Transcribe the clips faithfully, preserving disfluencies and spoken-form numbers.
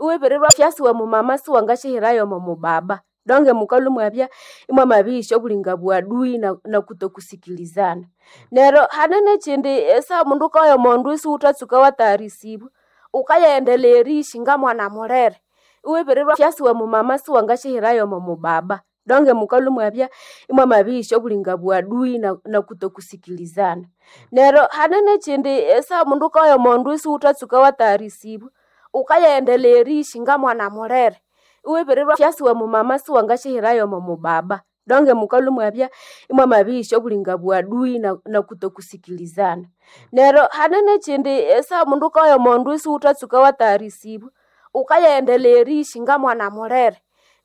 Iwibirirwa fyasi wa mumama siwangasyahirayo omo mubaba. Donge mukalhwa imwabya imwamabiyisya obulinga bwadui na, na kutokusikilizana. Neryo hane nekyindi esaha omundu wukaya omondu isiwuthatsuka watagharisibwa, wukayaendelea eriishi ngamwana mulere. Iwibirirwa fyasi wa mumama siwangasyahirayo omo mubaba. Donge mukalhwa imwabya imwamabiyisya obulinga bwadui na, na kutokusikilizana. Neryo hane nekyindi esaha omundu wukaya omondu isiwuthatsuka watagharisibwa, wukayaendelea eriishi ngamwana mulere. Iwibirirwa fyasi wa mumama siwangasyahirayo omo mubaba. Donge mukalhwa imwabya imwamabiyisya obulinga bwadui na, na kutokusikilizana. Neryo hane nekyindi esaha omundu wukaya omondu isiwuthatsuka watagharisibwa, wukayaendelea eriishi ngamwana mulere.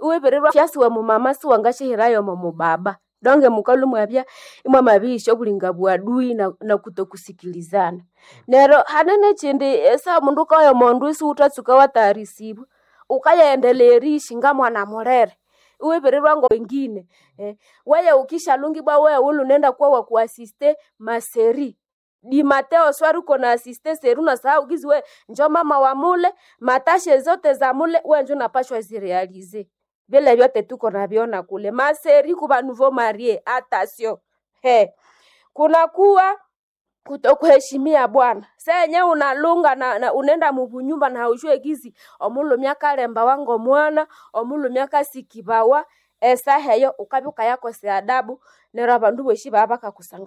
Iwibirirwa fyasi wa mumama siwangasyahirayo omo mubaba. Donge mukalhwa imwabya imwamabiyisya obulinga bwadui na, na kutokusikilizana. Neryo hane nekyindi esaha omundu wukaya omondu isiwuthatsuka watagharisibwa, wukayaendelea eriishi ngamwana mulere. Iwibirirwa ngowengine eh, weye ukishalungibwa wewe wulhu nenda kuwa wakuasiste maseri di mateo swari uko na asiste seri unasahau gizi we njo mama wa mule matashe zote za mule we njo unapashwa zirealize vile vyote tuko navyona kule maseri kuva nouveau marie atasio he kunakuwa kutokuheshimia bwana senye unalunga na, na unenda mubunyumba na haujue gizi omulumi akalemba wango mwana omulumi akasikibawa esaha eyo ukabya ukayakosea adabu neryo abandu bosi baba bakakusangala.